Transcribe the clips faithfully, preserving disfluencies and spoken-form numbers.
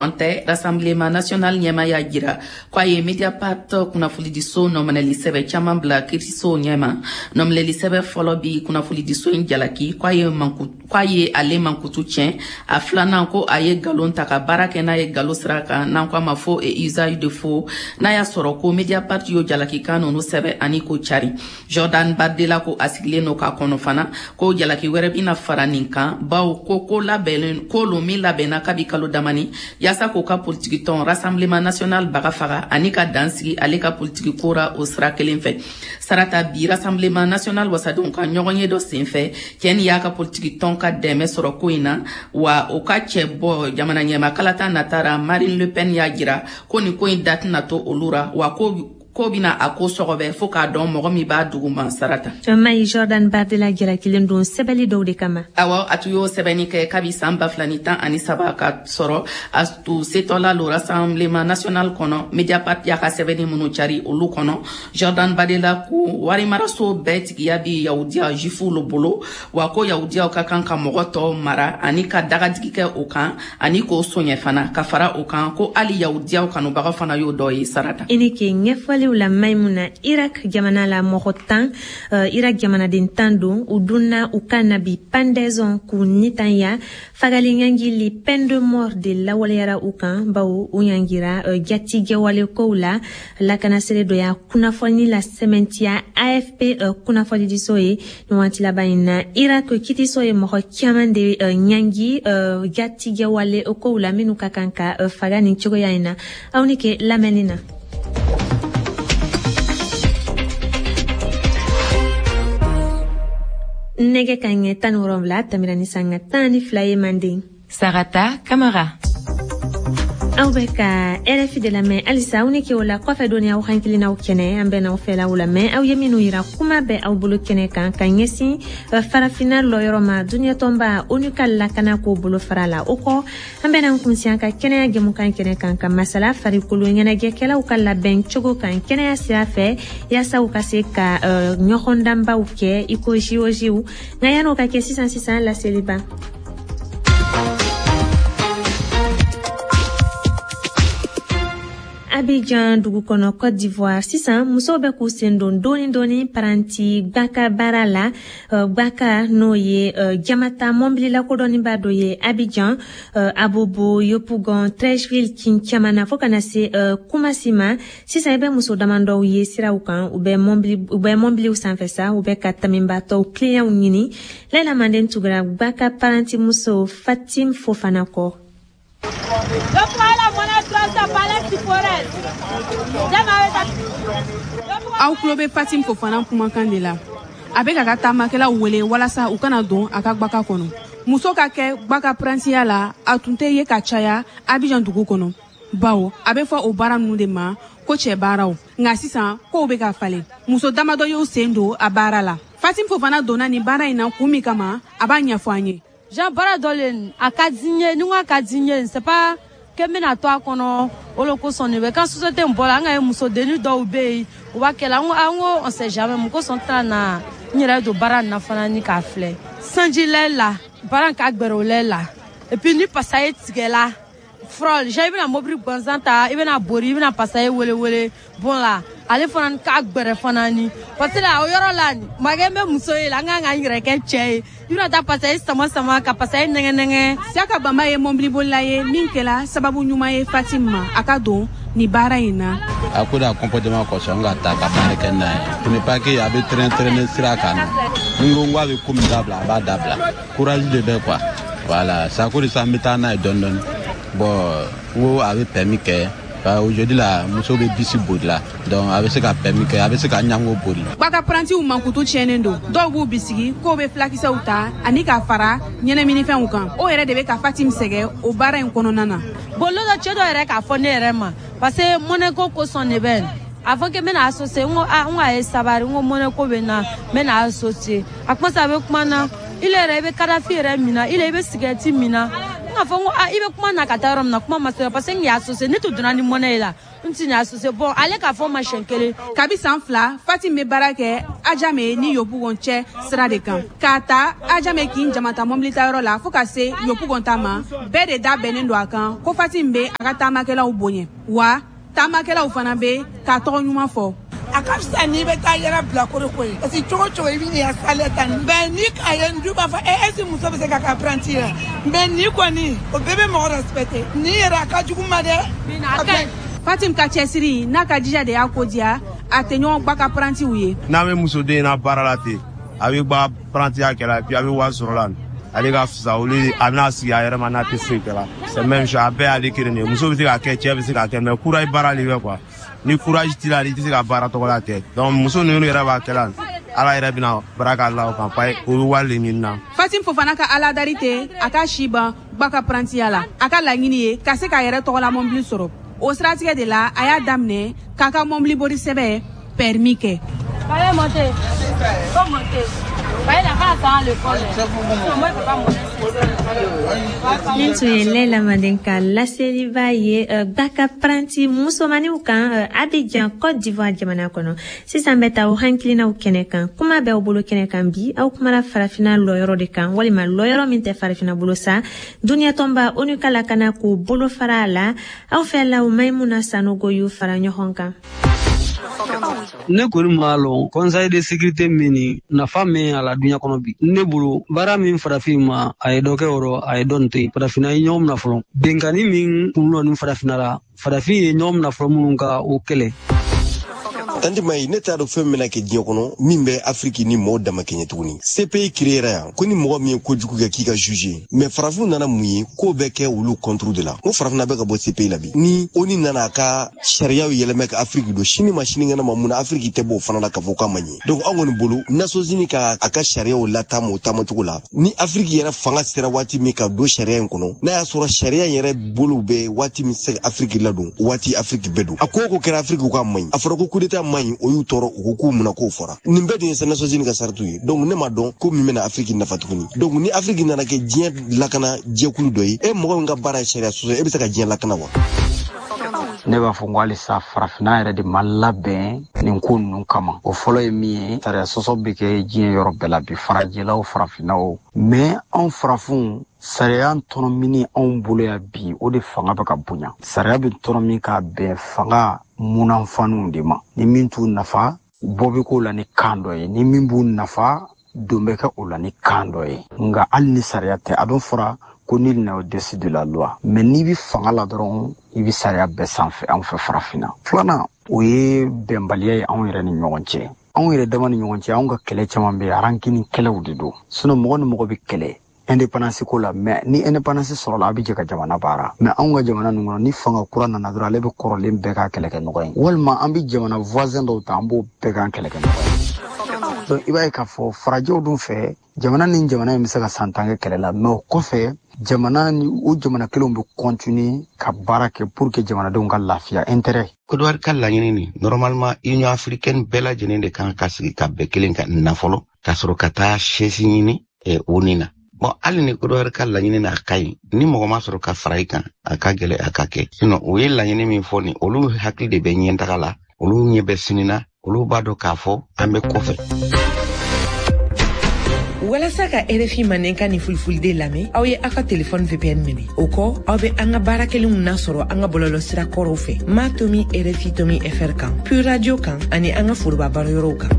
An tɛ Rassemblement national ɲɛma y'a jira ko a ye Mediapart kunnafonidiso nɔminɛli sɛbɛn caman bila kiiriso ɲɛma. Nɔminɛli sɛbɛn fɔlɔ bi kunnafonidiso in jalaki ko a ye manku ko a ye ale mankutu tiɲɛ. A filanan, ko a ye nkalon ta ka baara kɛ n'a ye nkalon sira kan, n'an ko a ma faux et usage de faux. N'a y'a sɔrɔ ko Mediapart y'o jalakikan ninnu sɛbɛn ani k'o cari. Jordan Bardella ko a sigilen don k'a kɔnɔ fana ko jalaki wɛrɛ bɛna fara nin kan, bawo ko ko labɛnnen ko lo min labɛnna kabi kalo damani yaasa k'o ka politiki tɔn Rassemblement national baga faga ani ka dan sigi ale ka politiki ko ra o sira kelen fɛ. Sarata, bi Rassemblement national wasadenw ka ɲɔgɔnye dɔ senfɛ, cɛ ni y'a ka politiki tɔn ka dɛmɛ sɔrɔ ko in na, wa o ka cɛ bɔ jamana ɲɛma kalata natara Marine Le Pen y'a jira ko nin ko in da tɛna to olu ra, wa ko ko bɛna a ko sɔgɔbɛ fo k'a dɔn mɔgɔ min b'a duguma. Sarata. Mayi, Jordan Bardella jalakilen don sɛbɛli dɔw de kama. Awɔ, a tun y'o sɛbɛnni kɛ kabi san ba fila ni tan ani saba ka sɔrɔ a tun setɔla lo Rassemblement national kɔnɔ. Mediapart y'a ka sɛbɛnni minnu cari, olu kɔnɔ Jordan Bardella ko warimaraso bɛɛ tigiya bi yahudiya juifuw lo bolo, wa ko yahudiyaw ka kan ka mɔgɔ tɔw mara ani ka dagadigi kɛ o kan ani k'o soɲɛ fana. Ka fara o kan, ko hali yahudiyaw kanubaga fana y'o dɔ ye. Sarata. I ni ke ɲɛfɔliw la, Maimuna. Irak jamana la, mɔgɔ tan, uh, Irak jamanaden tan don, u dunna u kan na bi pendaison k'u nitanya. Fagali ɲangili, peine de mort de lawaleyara u kan, bawo u ɲangira uh, jatigɛwale kow la. Lakanasere dɔ y'a kunnafoni la sɛmɛntiya A F P uh, kunnafonidiso ye. Nin waati laban in na, Irak kitiso ye mɔgɔ caman de uh, ɲangi uh, jatigɛwale kow la minnu ka kan ka uh, faga nin cogoya in na. Aw ni ke lamɛnni na. Nɛgɛ ka ɲɛ tan ni wɔrɔnwula tɛmɛna ni sanga tan ni fila ye manden. Sarata Kamara. Aw bɛ ka R F I de lamɛn halisa. Aw ni ke o la kɔfɛ dɔɔni, aw hakilinaw kɛnɛ, an bɛ n'aw fɛlaw lamɛn. Aw ye minnu yira kuma bɛ aw bolo kɛnɛ kan ka ɲɛsin Farafinna lɔyɔrɔ ma duniɲɛtɔnba ONU ka lakana ko bolo fara la. O kɔ, an bɛna kunsi an ka kɛnɛya jɛmukan kɛnɛ kan ka masala farikolo ɲɛnajɛkɛlaw ka labɛn cogo kan kɛnɛya sira fɛ, yaasa u ka se ka ɲɔgɔndanbaw kɛ i ko J O Jw. Nka yan'o ka kɛ, sisan sisan laseliba. Abidjan dugu kɔnɔ, Côte d'Ivoire, sisan musow bɛ k'u sen don dɔɔni dɔɔni paranti gbaka baara la. Gbaka, n'o ye jamata mɔbili lakodɔnniba dɔ ye Abidjan, Abobo, Yopougon, Treichville, kin caman na, fo ka na se Kumasi ma. Sisan i bɛ muso damadɔw ye siraw kan, u bɛ mɔbili u bɛ mɔbiliw sanfɛ sa, u bɛ ka tamibatɔw kiliyanw ɲini. Layila Manden tugura gbaka paranti muso Fatim Fofana kɔ. Je prends la monnaie trois cents par les forêt. Aw tulo bɛ Fatim Fofana kumakan de la. A bɛ k'a ka taamakɛlaw wele walasa u kana don a ka gbaka kɔnɔ. Muso ka kɛ gbaka parantiya la, a tun tɛ ye ka caya Abidjan dugu kɔnɔ, bawo a bɛ fɔ o baara ninnu de ma ko cɛ baaraw. Nka sisan kow bɛ ka falen, muso damadɔ y'u sen don a baara la. Fatim Fofana donna nin baara in na kun min kama, a b'a ɲɛfɔ an ye. Jean baara dɔ le, a ka di n ye. Ni n ko a ka di n ye, c'est pas que n bɛna to a kɔnɔ o le kosɔn de bɛ kan société in bɔra. An ka ye musodennin dɔw bɛ yen, u b'a kɛ la. N ko an ko on sait jamais, mun kosɔn n tɛna na n yɛrɛ don baara nin na fana ni k'a filɛ. Sanji lɛ la, baara in ka gbɛrɛ o lɛ la. Et puis ni pasaye tigɛla fɔlɔ, déjà i bɛna mobili gansan ta, i bɛna bori, i bɛna pasaye wele wele bon la, ale fana ka gbɛrɛ fana ni parce que la o yɔrɔ la makɛ n bɛ muso ye la, n kan ka n yɛrɛ kɛ cɛ ye, i bɛna taa pasaye sama sama ka pasaye nɛgɛ nɛgɛ. Siaka Bamba ye mɔbilibolila ye min kɛla sababu ɲuman ye Fatim ma a ka don nin baara in na. A ko da comportement kosɔn n ka ta ka baara kɛ n'a ye. Ce n'est pas que a bɛ traîner traîner sira kan. Ni n ko n ko a bɛ ko min dabila, a b'a dabila. Courage de bɛ quoi, voilà, c'est à cause de ça n bɛ taa n'a ye dɔɔni dɔɔni. Bon, n ko a bɛ permis kɛ. Aujourd'hui la, muso bɛ bisi boli la, donc a bɛ se ka permis kɛ, a bɛ se ka ɲango boli. Gbaka parantiw mankutu tiɲɛnen don. Dɔw b'u bisigi k'o bɛ fulakisɛw ta ani ka fara ɲɛnɛminifɛnw kan. O yɛrɛ de bɛ ka Fatim sɛgɛn o baara in kɔnɔna na. Bon, lon dɔ, cɛ dɔ yɛrɛ k'a fɔ ne yɛrɛ ma, parce que mɔnɛ ko kosɔn de bɛ a fɔ que n bɛna associer. N ko a, n ko a ye sabari, n ko mɔnɛ ko bɛ n na, n bɛna associer. A kuma sa, a bɛ kuma na, ile yɛrɛ i bɛ kadafi yɛrɛ mina, ile i bɛ sigɛrɛti mina. N N k'a fɔ n ko ah i bɛ kuma na ka taa yɔrɔ min na kuma ma se parce que n y'a associé ne tun donna ni mɔnɛ ye la n tɛ nin associé bon ale k'a fɔ ma siɲɛ kelen. Kabi san fila Fatim bɛ baara kɛ Adjamé ni Yopougon cɛ sira de kan k'a ta Adjamé k'i jamata mɔbili tayɔrɔ la fo ka se Yopougon ta ma bɛɛ de da bɛnnen don a kan ko Fatim bɛ a ka taamakɛlaw bonya wa taamakɛlaw fana bɛ k'a tɔgɔ ɲuman fɔ. A ka fisa n'i bɛ taa yɛrɛ bilakoro ko ye parce que cogo cogo i bɛ n'i ka salaire ta mais ni k'a ye du b'a fɔ e est ce que muso bɛ se ka kɛ apprenti ye mais ni kɔni o bɛɛ bɛ mɔgɔ respecter ni yɛrɛ a ka jugu ma dɛ. Fatim ka cɛsiri n'a ka jija de y'a ko diya a tɛ ɲɔgɔn gba ka apprentiw ye. N'a bɛ musoden na baara la ten a bɛ gba apprentiya kɛ la et puis a bɛ wari sɔrɔ la ale ka fisa olu a bɛna sigi a yɛrɛ ma n'a tɛ foyi kɛ la c'est même chose a bɛɛ y'ale kelen de ye muso bɛ se k'a kɛ cɛ bɛ se k'a kɛ mais courage baara de bɛ quoi. Ni courage t'i la i tɛ se ka baara tɔgɔ la kɛ donc muso ninnu yɛrɛ b'a kɛ la ala yɛrɛ bɛna barika la o kan pa o bɛ wari de ɲini na. Fatim Fofana ka aladari tɛ a ka si ban gba ka apprentiya la a ka laɲini ye ka se k'a yɛrɛ tɔgɔla mɔbili sɔrɔ o siratigɛ de la a y'a daminɛ k'a ka mɔbili bori sɛbɛn permis kɛ. Allez monter. Faut monter. Nin tun ye Lɛla Manden ka laseliba ye gbaka apprenti musomaniw kan Abidjan Côte d'Ivoire jamana kɔnɔ. Sisan bɛ taa o hakilinaw kɛnɛ kan. Kuma bɛ aw bolo kɛnɛ kan bi aw kumana farafinna lɔyɔrɔ de kan walima lɔyɔrɔ min tɛ farafinna bolo sa duniya tɔnba ONU ka lakana k'o bolo fara a la aw fɛ la o Maimuna Sanogo y'u fara ɲɔgɔn kan. Ne kɔni m'a lɔn conseil de sécurité min ni nafa min a la duɲa kɔnɔ bi ne bolo baara min farafin ma a ye dɔ kɛ o rɔ a ye dɔ nin to yen farafinna ye ɲɔgɔn minɛ fɔlɔ benkanni min kun lɔ ni farafinna la farafin ye ɲɔgɔn minɛ fɔlɔ minnu ka o kɛlɛ. Tanti Mayi, ne t'a dɔn fɛn min bɛna kɛ diɲɛ kɔnɔ min bɛ Afiriki ni mɔgɔw dama kɛɲɛ tuguni. C P I créera yan ko ni mɔgɔ min ye kojugu kɛ k'i ka juger mais farafinw nana mun ye k'o bɛ kɛ olu contre de la. Ko farafinna bɛ ka bɔ C P I la bi ni ONU nana a ka sariyaw yɛlɛmɛ ka Afiriki don sini ma sinikɛnɛ ma mun na Afiriki tɛ bɔ o fana la k'a fɔ k'a ma ɲɛ. Donc anw kɔni bolo Nations Unies ka a ka sariyaw lataama o taamacogo la ni Afiriki yɛrɛ fanga sera waati min ka don sariya in kɔnɔ n'a y'a sɔrɔ sariya in yɛrɛ bolo bɛ waati min se ka Afiriki ladon o waati Afiriki bɛ don. A ko o ko kɛra Afiriki k'a ma ɲi a fɔra ko coup d'état man ɲi o y'u tɔɔrɔ u ko k'u munna k'o fɔra nin bɛɛ de ye Nations Unies ka saratu ye. Donc ne m'a dɔn ko min bɛna Afiriki nafa tuguni. Donc ni Afiriki nana kɛ diɲɛ lakana jɛkulu dɔ ye e mɔgɔ min ka baara ye sariya sɔsɔ e bɛ se ka diɲɛ lakana wa? Ne b'a fɔ n ko halisa farafinna yɛrɛ de ma labɛn nin ko ninnu kama. O fɔlɔ ye min ye sariya sɔsɔ bɛ kɛ diɲɛ yɔrɔ bɛɛ la bi farajɛlaw farafinnaw mais anw farafinw sariya tɔnɔmini anw bolo yan bi o de fanga bɛ ka bonya. Sariya bɛ tɔnɔmi ka bɛn fanga munanfaniw de ma ni min t'u nafa bɔ bɛ k'o la ni kan dɔ ye ni min b'u nafa don bɛ kɛ o la ni kan dɔ ye nka hali ni sariya tɛ a dun fɔra ko nul n'est au-dessus de la loi mais n'i bɛ fanga la dɔrɔn i bɛ sariya bɛɛ sanfɛ anw fɛ farafinna. Filanan o ye bɛnbaliya ye anw yɛrɛ ni ɲɔgɔn cɛ anw yɛrɛ dama ni ɲɔgɔn cɛ anw ka kɛlɛ caman bɛ yen arankini kɛlɛw de don sinon mɔgɔ ni mɔgɔ bɛ kɛlɛ indépendance ko la mais ni indépendance sɔrɔla a bɛ jɛ ka jamana baara mais anw ka jamana ninnu kɔnɔ ni fanga kura nana dɔrɔn ale bɛ kɔrɔlen bɛɛ k'a kɛlɛkɛɲɔgɔn ye walima an bɛ jamana voisin dɔw ta an b'o bɛɛ k'an kɛlɛkɛɲɔgɔn ye. Donc i b'a ye k'a fɔ farajɛw dun fɛ jamana ni jamana in bɛ se ka san tan kɛ kɛlɛ la mais o kɔfɛ jamana ni o jamana kelenw bɛ continuer ka baara kɛ pour que jamanadenw ka lafiya intérêt. Côte d'Ivoire ka laɲini nin normalement Union africaine bɛɛ lajɛlen de kan ka sigi ka bɛn kelen kan na fɔlɔ ka sɔrɔ ka taa chaise ɲini ONU na. Bon hali ni Côte d'Ivoire ka laɲini n'a ka ɲi ni mɔgɔ ma sɔrɔ ka fara i kan a ka gɛlɛ a ka kɛ sinon u ye laɲini min fɔ nin olu hakili de bɛ ɲɛtaga la olu ɲɛ bɛ sini na olu b'a dɔn k'a fɔ an bɛ kɔfɛ. Walasa ka R F I mandenkan ni fulfulde lamɛn aw ye aw ka telefɔni V P N minɛ o kɔ aw bɛ an ka baara kelenw nasɔrɔ an ka bɔlɔlɔsira kɔrɔw fɛ ma tomi R F I tomi F R kan Pure Radio kan ani an ka foroba baroyɔrɔw kan.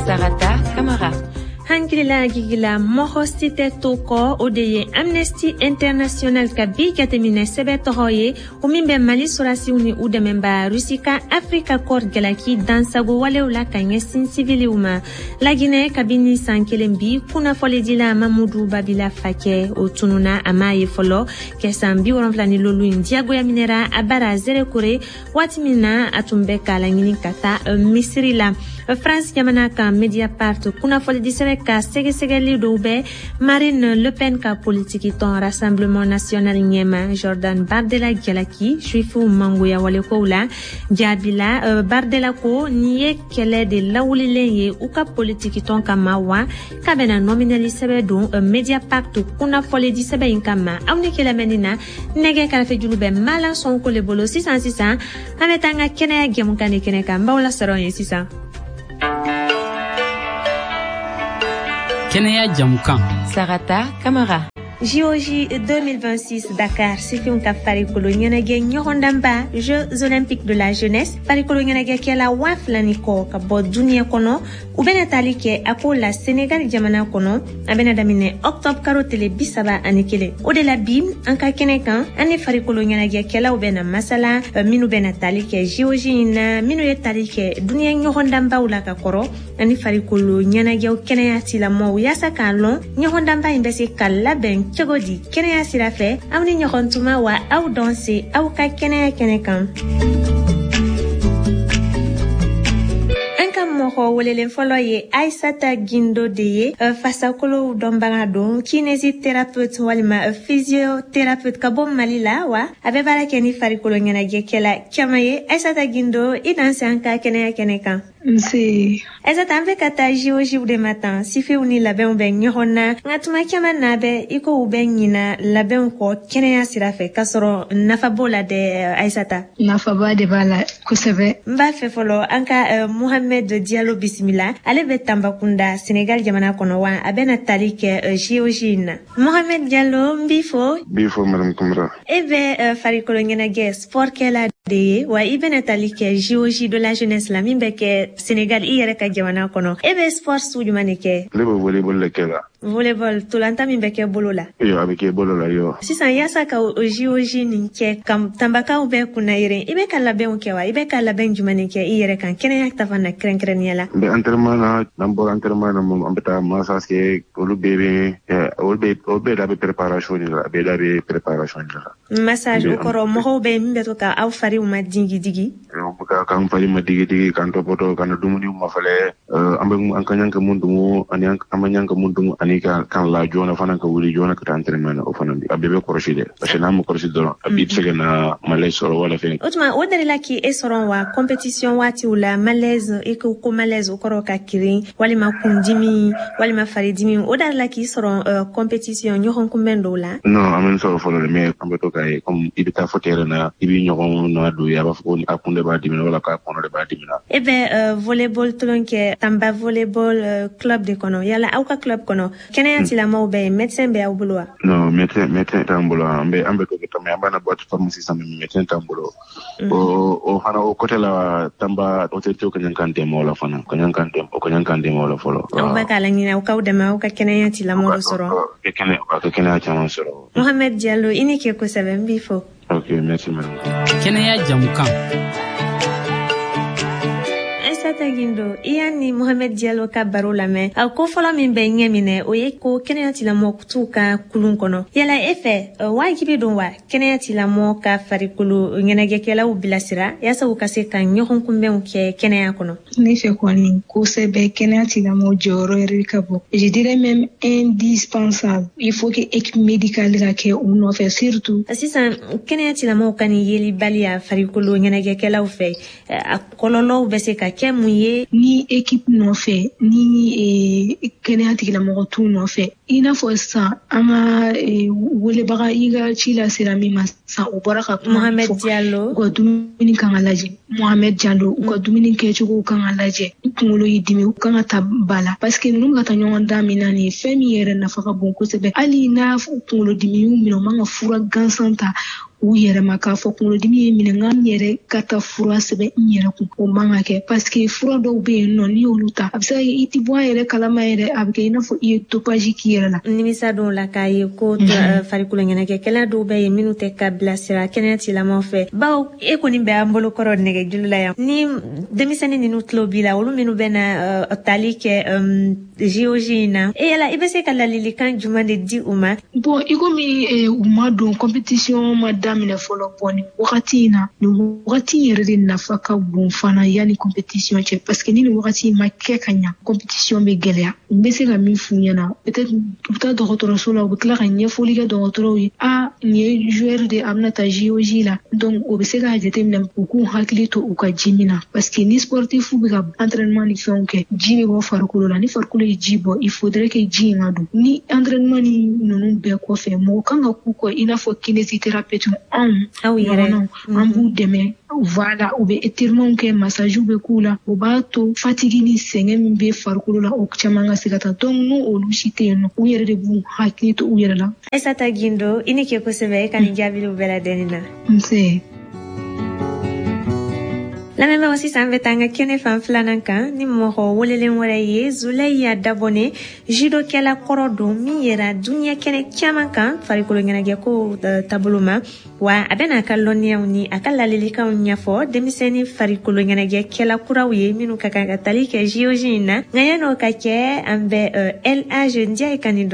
Sarata Kamara. Hankilila gigila mɔgɔ si tɛ to kɔ o de ye Amnesty International ka bi jateminɛ sɛbɛn tɔgɔ ye o min bɛ Mali sɔrɔdasiw ni u dɛmɛba Rusi ka Afrika Corps jalaki dansago walew la ka ɲɛsin siviliw ma. Laginɛ kabini san kelen bi kunnafonidila Mamudu Babila Fakɛ o tununa a m'a ye fɔlɔ kɛ san bi wolonfila ni lolu in diyagoya minɛra a bara Zerekore waati min na a tun bɛ k'a laɲini ka taa Misiri la. France jamana kan Mediapart kunnafonidi sɛbɛn ka ka sɛgɛsɛgɛli dɔw bɛ Marine Le Pen ka politiki tɔn Rassemblement National ɲɛma Jordan Bardella jalaki juifuw mangoya walekow la. Jaabi la, Bardella ko nin ye kɛlɛ de lawulilen ye u ka politiki tɔn kama, wa k'a bɛna nɔminɛli sɛbɛn don Mediapart kunnafɔlidi sɛbɛn in kama. Aw ni kɛlɛmɛni na, nɛgɛ karafejulu bɛ Malan Sonko le bolo. Sisan sisan an bɛ taa an ka kɛnɛya jɛmukan de kɛnɛ kan. N b'aw lasɔrɔ yen sisan. Kɛnɛya jɛmukan. Sarata Kamara. J O J deux mille vingt-six Dakar, sifinw ka farikolo ɲɛnajɛ ɲɔgɔndanba Jeux olympiques de la jeunesse, farikolo ɲɛnajɛkɛla waa fila ni kɔ ka bɔ duniɲɛ kɔnɔ, u bɛna tali kɛ a ko la Senegal jamana kɔnɔ. A bɛna daminɛ octobre karo tele bi saba ani kelen. O de la bi an ka kɛnɛ kan, an ni farikolo ɲɛnajɛkɛlaw bɛna masala, minnu bɛna tali kɛ J O J in na, minnu ye tali kɛ duniɲɛ ɲɔgɔndanbaw la ka kɔrɔ, ani farikolo ɲɛnajɛw kɛnɛya tigilamɔgɔw, yaasa k'a lɔn ɲɔgɔndanba in bɛ se ka labɛn cogo di kɛnɛya sira fɛ. Aw ni ɲɔgɔn tuma wa aw dɔn se aw ka kɛnɛya kɛnɛ kan. An ka mɔgɔ welelen fɔlɔ ye Aissata Guindo de ye, fasakolow dɔnbaga don, kinésithérapeute walima physiothérapeute ka bɔ Mali la, wa a bɛ baara kɛ ni farikolo ɲɛnajɛkɛla caman ye. Aissata Guindo, i danse an ka kɛnɛya kɛnɛ kan. Nse. Aissata, an bɛ ka taa J O J de ma tan, sifinw ni labɛnw bɛ ɲɔgɔn na, nka tuma caman na bɛ i ko u bɛ ɲina labɛnw kɔ kɛnɛya sira fɛ, k'a sɔrɔ nafa b'o la dɛ. Aissata, nafaba de b'a la kosɛbɛ. N b'a fɛ fɔlɔ an ka Mohamed Diallo bisimila. Ale bɛ Tambacounda, Senegal jamana kɔnɔ, wa a bɛna tali kɛ J O J in na. Mohamed Diallo, n b'i fo. N b'i fo Madame Kamara. E bɛ farikolo ɲɛnajɛ sport kɛla de ye, wa i bɛna tali kɛ J O J de la jeunesse la min bɛ kɛ Senegal, i yɛrɛ ka jamana kɔnɔ. E bɛ sport sugu jumɛn de kɛ? Ne bɛ volleyball de kɛ la. Volleyball, tolanta min bɛ kɛ bolo la. Iyo, a bɛ kɛ bolo la, iyo. Sisan, yaasa ka o J O J nin kɛ, ka Tanbakaw bɛɛ kunna yɛrɛ, i bɛ ka labɛnw kɛ wa? I bɛ ka labɛn jumɛn de kɛ i yɛrɛ kan kɛnɛya ta fan na kɛrɛnkɛrɛnnenya la? N bɛ entraînement na, n'an bɔra entraînement na, an bɛ taa massage kɛ, olu bɛɛ bɛ olu bɛɛ olu bɛɛ da bɛ préparation de la, bɛɛ da bɛ préparation de la. Massage o kɔrɔ, mɔgɔw bɛ min bɛ to ka aw fariw ma digi digi? K'an fari ma digi digi, k'an tɔpɔtɔ, k'an dumuni mafɛlɛ, an bɛ an ka ɲan ka mun dumu ani an ma ɲan ka mun dumu, ani ka kan la joona fana, ka wuli joona ka taa entraînement na, o fana a bɛɛ bɛ kɔlɔsi dɛ, parce que n'a ma kɔlɔsi dɔrɔn a b'i se ka na malaise sɔrɔ wala fɛn. O tuma o delila k'i sɔrɔ wa compétition waatiw la, malaise, i ko ko malaise o kɔrɔ ka kirin walima kundimi walima faridimi, o delila k'i sɔrɔ compétition ɲɔgɔn kunbɛn dɔw la? Non, an bɛ sɔrɔ fɔlɔ dɛ, mais an bɛ to k'a ye comme i bɛ taa fɔ terrain na, i b'i ɲɔgɔn na don ye, a b'a fɔ ko a kun de b'a dimi wala k'a kɔnɔ de b'a dimi na. E bɛ volleyball tolon kɛ Tamba volleyball club de kɔnɔ, yala aw ka club kɔnɔ kɛnɛya tigilamɔgɔw bɛ yen, médecin bɛ aw bolo wa? Non, médecin médecin t'an bolo, an bɛ an bɛ to kɛ mais an b'a na boîte pharmacie sisan, mais médecin t'an bolo. O o fana o côté la, Tamba autorité ka ɲan k'an dɛmɛ o la fana, ka ɲan k'an dɛmɛ o ka ɲan k'an dɛmɛ o la fɔlɔ. Aw bɛ k'a laɲini aw k'aw dɛmɛ aw ka kɛnɛya tigilamɔgɔw sɔrɔ. Ka kɛnɛya ka kɛnɛya caman sɔrɔ. Mohamed Diallo, i ni ke kosɛbɛ, n b'i fo. Ok, merci madame. Kɛnɛya jɛmukan. Aissata Guindo, i y'a ni Mohamed Diallo ka baro lamɛn. A ko fɔlɔ min bɛ ɲɛ minɛ, o ye ko kɛnɛya tigilamɔgɔ t'u ka kulun kɔnɔ. Yala e fɛ, wajibi don wa kɛnɛya tigilamɔgɔ ka farikolo ɲɛnajɛkɛlaw bilasira yaasa u ka se ka ɲɔgɔn kunbɛnw kɛ kɛnɛya kɔnɔ? Ne fɛ kɔni kosɛbɛ, kɛnɛya tigilamɔgɔ jɔyɔrɔ yɛrɛ ka bon. Je dirais même indispensable. Il faut que équipe médicale ka kɛ u nɔfɛ surtout. Sisan kɛnɛya tigilamɔgɔw ka nin yelibaliya farikolo ɲɛnajɛkɛlaw fɛ, a kɔlɔlɔw bɛ se ka kɛ mun ye? Ni équipe nɔfɛ, ni kɛnɛya tigilamɔgɔ t'u nɔfɛ, i n'a fɔ sisan an ka welebaga i ka ci lasera min ma sisan, o bɔra ka kuma Mohamed Diallo, u ka dumuni kan ka lajɛ. Mohamed Diallo, u ka dumuni kɛcogo kan ka lajɛ. U kunkolo y'i dimi, u kan ka taa ba la, parce que ninnu ka taa ɲɔgɔn dan min na nin ye fɛn min yɛrɛ nafa ka bon kosɛbɛ. Hali n'a kunkolo dimi y'u minɛ, u man ka fura gansan ta u yɛrɛ ma k'a fɔ kunkolodimi ye minɛ, n ka n yɛrɛ ka taa fura sɛbɛn n yɛrɛ kun, o man ka kɛ, parce que fura dɔw bɛ yen nɔ, n'i y'olu ta, a bɛ se ka kɛ i ti bɔ a yɛrɛ kalama yɛrɛ, a bɛ kɛ i n'a fɔ i ye dopage k'i yɛrɛ la. Nimisa dɔw la k'a ye ko farikolo ɲɛnajɛkɛla dɔw bɛ yen minnu tɛ ka bilasira kɛnɛya tigilamɔgɔw fɛ, bawo e kɔni bɛ an bolo kɔrɔ nɛgɛjuru la yan, ni denmisɛnnin ninnu tulo b'i la, olu minnu bɛ na tali kɛ J O J in na, e yala i bɛ se ka ladilikan jumɛn de di u ma? Bon, i komi u ma don compétition ma daminɛ fɔlɔ, bɔn nin wagati in na, nin wagati in yɛrɛ de nafa ka bon fana yanni compétition cɛ, parce que ni nin wagati in ma kɛ ka ɲa, compétition bɛ gɛlɛya. N bɛ se ka min f'u ɲɛna, peut-être u bɛ taa dɔgɔtɔrɔso la, u bɛ tila ka ɲɛfɔli kɛ dɔgɔtɔrɔw ye, a nin ye joueur de, a bɛna taa J O J la. Donc o bɛ se k'a jateminɛ u k'u hakili to u ka ji min na, parce que ni sportif bɛ ka entraînement ni fɛnw kɛ, ji bɛ bɔ farikolo la. Ni farikolo ye ji bɔ, il faudrait que ji in ka don. Ni entraînement ni ninnu bɛɛ kɔfɛ, mɔgɔ kan ka k'u kɔ i n'a fɔ kinésithérapeute, anw ɲɔgɔnnaw, an b'u dɛmɛ. Voilà, u bɛ étirement kɛ, massage bɛ k'u la, o b'a to fatigue ni sɛgɛn min bɛ farikolo la, o caman ka se ka taa. Donc n'o olu si tɛ yen nɔ, u yɛrɛ de b'u hakili to u yɛrɛ la. Aïssata Guindo, i ni ke kosɛbɛ e ka nin jaabiliw bɛɛ ladɛnni na. Nse. Lamɛnbagaw, sisan bɛ taa an ka kɛnɛ fan filanan kan ni mɔgɔ welelen wɛrɛ ye, Zuleya Dabɔnɛ, judokɛla kɔrɔ don min yɛrɛ duniɲɛ kɛnɛ caman kan farikolo ɲɛnajɛko taabolo ma. Wa a bɛna a ka lɔnniyaw ni a ka lalilikanw ɲɛfɔ denmisɛnnin farikolo ɲɛnajɛkɛla kuraw ye minnu ka kan ka tali kɛ J O J in na. Nka yan'o ka kɛ, an bɛ El Hadj Ndiaye ka nin